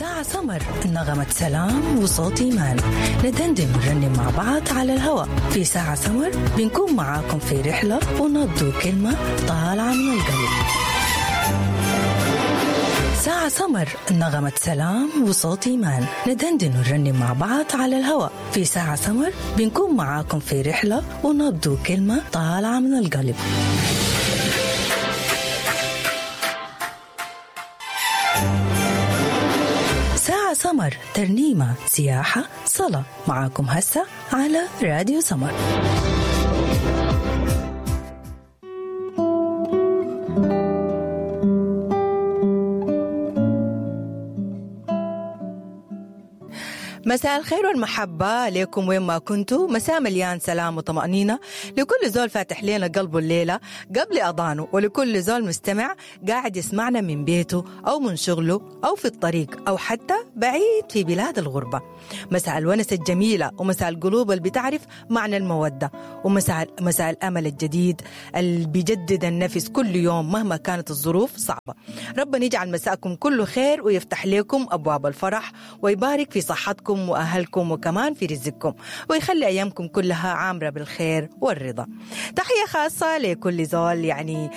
ساعة سمر، نغمة سلام وصوت إيمان، ندندن ونرنم مع بعض على الهواء. في ساعة سمر بنكون معاكم في رحلة ونبض كلمة طالعة من القلب. ساعة سمر، نغمة سلام وصوت إيمان، ندندن ونرنم مع بعض على الهواء. في ساعة سمر بنكون معاكم في رحلة ونبض كلمة طالعة من القلب. ساعة سمر، ترنيمة، سياحة، صلاة، معاكم هسه على راديو سمر. مساء الخير والمحبة لكم وين ما كنتوا. مساء مليان سلام وطمأنينة لكل زول فاتح لنا قلبه الليلة قبل أضانه، ولكل زول مستمع قاعد يسمعنا من بيته أو من شغله أو في الطريق أو حتى بعيد في بلاد الغربة. مساء الونس الجميلة، ومساء القلوب اللي بتعرف معنى المودة، ومساء الأمل الجديد اللي بيجدد النفس كل يوم مهما كانت الظروف صعبة. ربنا يجعل مساءكم كله خير ويفتح لكم أبواب الفرح ويبارك في صحتكم وأهلكم وكمان في رزقكم، ويخلي أيامكم كلها عامرة بالخير والرضا. تحية خاصة لكل زول يعني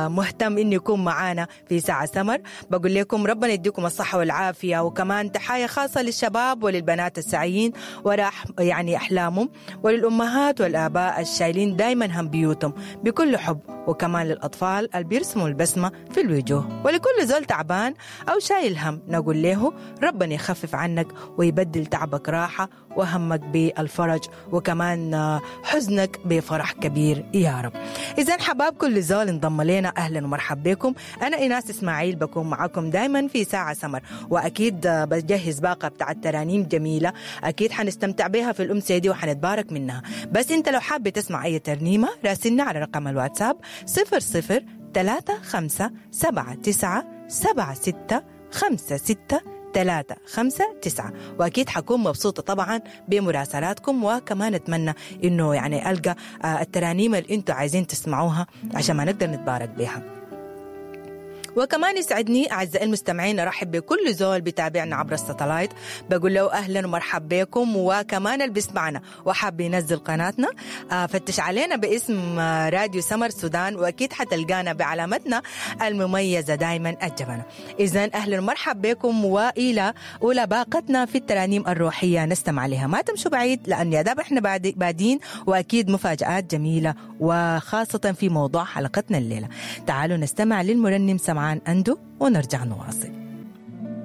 مهتم إنه يكون معانا في ساعة سمر. بقول لكم ربنا يديكم الصحة والعافية، وكمان تحية خاصة للشباب وللبنات السعيين وراء يعني أحلامهم، وللأمهات والآباء الشايلين دايما هم بيوتهم بكل حب، وكمان للأطفال اللي بيرسموا البسمة في الوجوه، ولكل زول تعبان أو شايل هم نقول له ربنا يخفف عنك ويبدل تعبك راحة، وهمك بالفرج، وكمان حزنك بفرح كبير يا رب. إذن حباب كل زول انضم لنا، أهلا ومرحبا بكم. أنا إيناس إسماعيل بكون معاكم دايما في ساعة سمر، وأكيد بجهز باقة بتاع الترانيم جميلة أكيد حنستمتع بها في الأمسية دي وحنتبارك منها. بس أنت لو حابة تسمع أي ترنيمة راسلنا على رقم الواتساب 00 35 79 76 56 3 5 9، وأكيد حكون مبسوطة طبعا بمراسلاتكم، وكمان أتمنى إنه يعني ألقى الترانيم اللي أنتوا عايزين تسمعوها عشان ما نقدر نتبارك بها. وكمان يسعدني أعزائي المستمعين أرحب بكل زول بتابعنا عبر الساتلايت، بقول له أهلا ومرحبا بكم. وكمان اللي بيسمعنا وحاب ينزل قناتنا فتش علينا باسم راديو سمر سودان، وأكيد حتلقانا بعلامتنا المميزة دايما الجبنة. إذن أهلا ومرحبا بكم، وإلى أولى باقتنا في الترانيم الروحية نستمع لها. ما تمشوا بعيد لأن يا داب إحنا بادين، وأكيد مفاجآت جميلة وخاصة في موضوع حلقتنا الليلة. تعالوا نستمع للمرنم سمعان أندو ونرجع نواصل.